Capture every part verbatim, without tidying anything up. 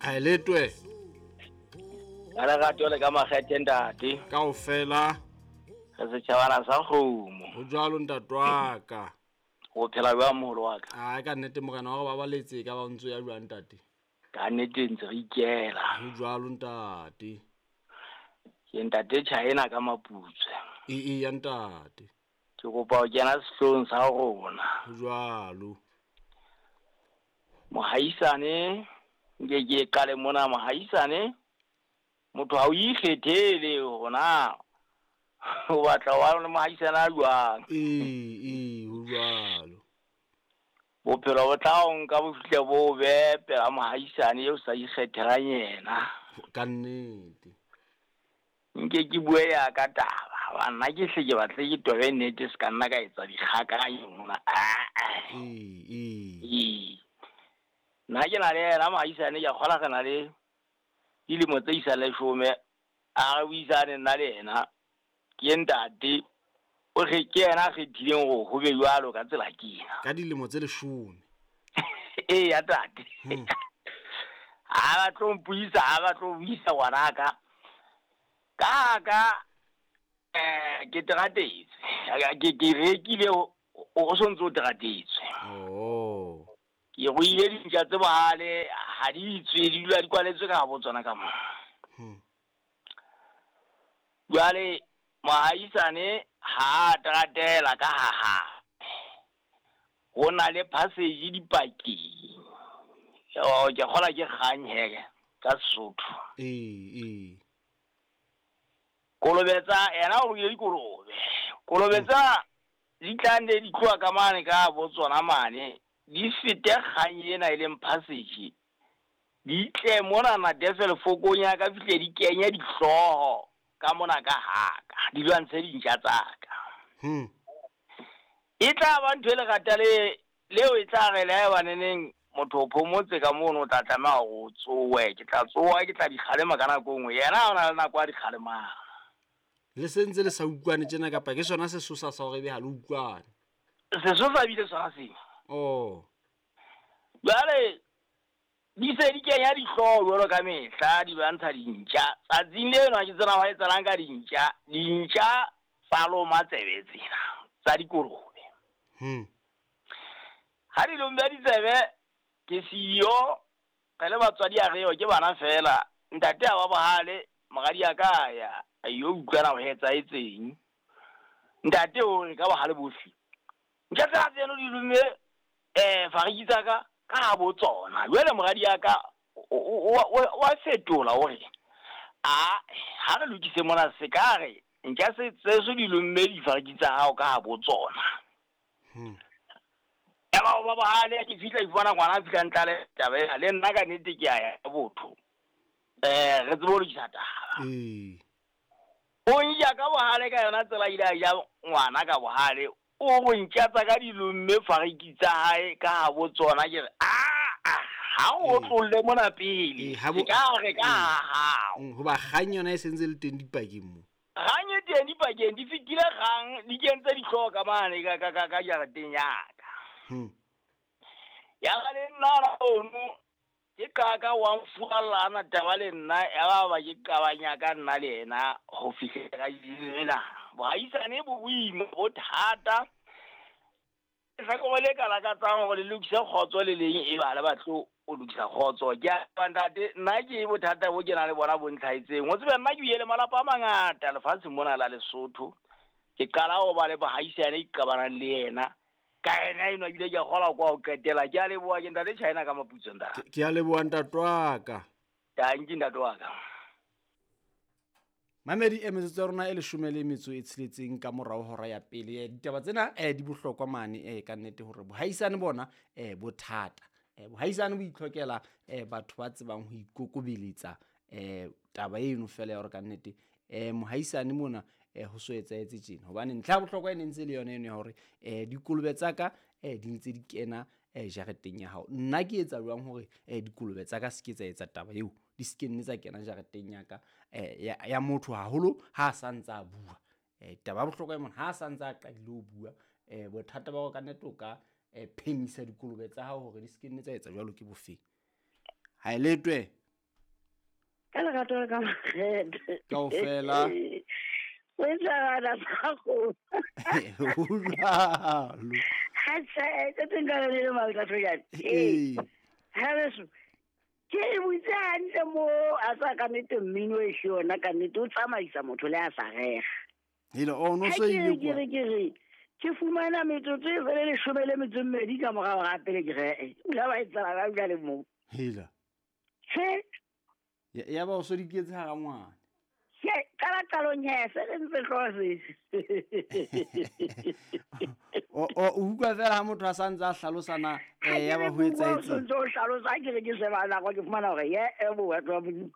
Ha letwe. Ka lerato le ka makgethe ntate. Kaofela. Re setjhabana sa kgomo. Ho jwalo ntate wa ka. O phela jwang moholo wa ka? Ah, ka nnete morena wa re babaletse ka ba ntso ya jwang ntate. Ka nnete ntse re ikela. Ho jwalo ntate. Ke ntate China ka Maputswe. E e ya ntate. Ke kopa ho kena sehloohong sa rona. Ho jwalo. Mohaisane nke ke qale mona mohaisane. Motho ha o ikgethele hore na o batla wa le mohaisane a jwang. Ee, ee, ho jwalo. Bophelo bo tla o nka bo fihle bo be pela mohaisane eo sa ikgethelang yena. Ka nnete. Nke ke bue ya ka taba, ba nna ke hle ke batle ke tobe nnete se ka nna ka etsa dikgakanyo mona. Ee, ee. Ee. Nna ke na le yena mohaisane ke a kgola re na le dilemo tse isang leshome, a re buisane nna le yena. Ke ntate o re ke yena a kgethileng hore ho be jwalo ka tsela ke ena. Ka dilemo tse leshome. Ee ya tate. Ha ba tlo mpuisa, ha ba tlo buisa ngwanaka. Ka ka eh ke teratetse. Ke ke rekile o sontso teratetse. Oh. Ke ruile dintja tse bohale ha di tswe di dula di kwaletswe ka bo tsona ka mo. Hmm. Jwale mohaisane ha teratela ka ha ha. Ho na le passage dipakeng. Oh, ke kgola ke kgang he ka Sesotho. Ee, ee. Kolobetsa yena o ruile dikolobe. Kolobetsa di tla nne di tloha ka mane ka bo tsona mane. Di fete kgang ena e leng passage. Di tle mona na defel fokong ya ka fihle di kenye dihlooho ka mona ka haka. Di lwantshe dintja tsa ka. Hmm. E tla ba ntho e lerata le leo e tla re le ha baneneng motho o phomotse ka mono o tla tlameha hore o tsowe. Ke tla tsoha ke tla di kgalema ka nako e nngwe. Yena o na le nako a di kgalemang. Le sentse le sa utlwane tjena kapa ke sona sesosa sa hore ebe ha le utlwane? Sesosa bile sona sena. Oh. Jwale di se di kenya dihlooho jwalo ka mehla di lwantsha dintja. Tsatsing leno ha ke tsena ho etsahalang ka dintja, dintja tsa loma tsebe tsena tsa dikolobe. Hmm. Ha di lomme ditsebe ke siyo re le batswadi a reo ke bana fela. Ntate a ba bohale, moradi a ka ya a yo utlwana ho etsahetseng. Ntate o re ka bohale bohle. Ntja tsa tseno di lomme eh fariki tsa ka ka bo tsona. Jwale moradi ya ka o a fetola hore a ha re lokise mona se ka re ntja se tseso di lomme difariki tsa hao ka bo tsona. Hmm. Ya ba ba bohale ke fihla ifana ngwana fihla ntlale taba ena le nna ka nnete ke a ya botho. Eh re tsebe ho lokisa taba. Ee. O nja ka bohale ka yona tsela ile a ja ngwana ka bohale. O go ntjatsa ka dilomme fariki tsa hae ka ha bo tsona ke re a ha o tlolle mona pele. Ke ka re ka ha. Hoba kgang yona e sentse le teng dipakeng mo. Kgang e teng dipakeng di fetile kgang di kentse dihlooho ka mane ka ka ka jareteng ya ka. Hmm. Ya ga le nna ono ke qaka wa mfurallana taba le nna ya ba ba ke qabanya ka nna le yena ho fihlela ena. Bohaisane bo boima bo thata. Lehlakore le ka lakatsang hore le lokise kgotso le leng e ba le batlo o lokisa kgotso. Ke a ntate nna ke bothata bo ke na le bona bo ntlhaetseng. O tsebe nna ke ile le malapa a mangata lefatsheng mona la Lesotho. Ke qala ho ba le bohaisane ke qabanang le yena. Ka ena eno ebile ke a kgola kwa ho qetela. Ke a leboha ke ntate China ka Maputso ntate. Ke a leboha ntate wa ka. Tanki ntate wa ka. Mamedi e metsotso ya rona e leshome le metso e tsheletseng ka morao hora ya pele. Ditaba tsena eh di bohlokwa mane eh ka nnete hore bohaisane bona eh bothata. Eh bohaisane bo itlhokela eh batho ba tsebang ho ikokobeletsa eh taba eno fela ya hore ka nnete eh mohaisane mona eh ho so etsahetse tjena. Hobane ntlha ya bohlokwa e ne ntse le yona eno ya hore eh dikolobe tsa ka eh di ntse di kena eh jareteng ya hao. Nna ke etsa jwang hore eh dikolobe tsa ka se ke tsa etsa taba eo, di se ke nne tsa kena jareteng ya ka eh ya, ya motho haholo ha a sa ntsa a bua. Eh taba ya bohlokwa e mona ha a sa ntsa a qadile ho bua eh bothata ba hore ka nnete o ka eh phemisa dikolobe tsa hao hore di se ke nne tsa etsa jwalo ke bofeng. Ha e letwe. Ka lerato le ka makgethe. Kaofela. O etsa bana ba go. Ho jwalo. Ha tjhe, tse teng ka le le mautla. Ee. Ha beso. Ke e butse hantle mo a sa ka nnete mmino e hle yona ka nnete o tsamaisa motho le a sa rega. Hele, o no Ha so ke ile re ke kwa. re ke re ke fumana metsotso e fele leshome le metso e mmedi ka morao ga pele ke re eh o la ba etsala ka jwale mo. Hela. Tjhe, Ya ya ba o so di ketse hara ngwana. ke qala qalong he se re ntse hlose. O o o utlwa fela ha motho a sa ntse a hlalosa na Ha eh ke ya ba re ho bua, o etsahetse. sontso o hlalosa ha ke re ke sheba nako ke fumana hore ye e bo batho ba Modimo.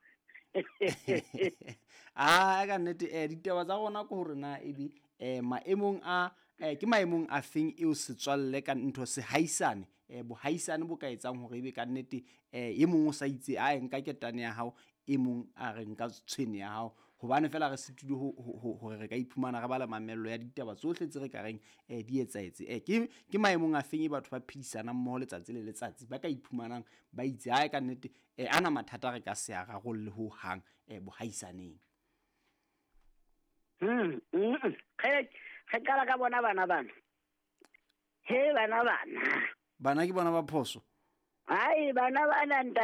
Ah, ka nnete eh ditaba tsa rona ke hore na ebe eh maemong a eh ke maemong a feng eo setswalle ka ntho sehaisane eh bohaisane bo ka etsang hore ebe ka nnete eh e mong o sa itse a nka ketane ya hao, e mong a re nka tshwene ya hao, hobane fela re sitile ho ho hore re ka iphumana re bala mamello ya ditaba tsohle tse re ka reng eh di etsahetse. Eh ke ke maemong a feng e batho ba phedisanang mmoho letsatsi le letsatsi ba ka iphumanang ba itse ae ka nnete eh ana mathata re ka se a rarolle ho hang eh bohaisaneng. Hmm, mm, re re qala ka bona bana bana. He bana bana. Bana ke bona ba phoso. Hai bana bana ntate.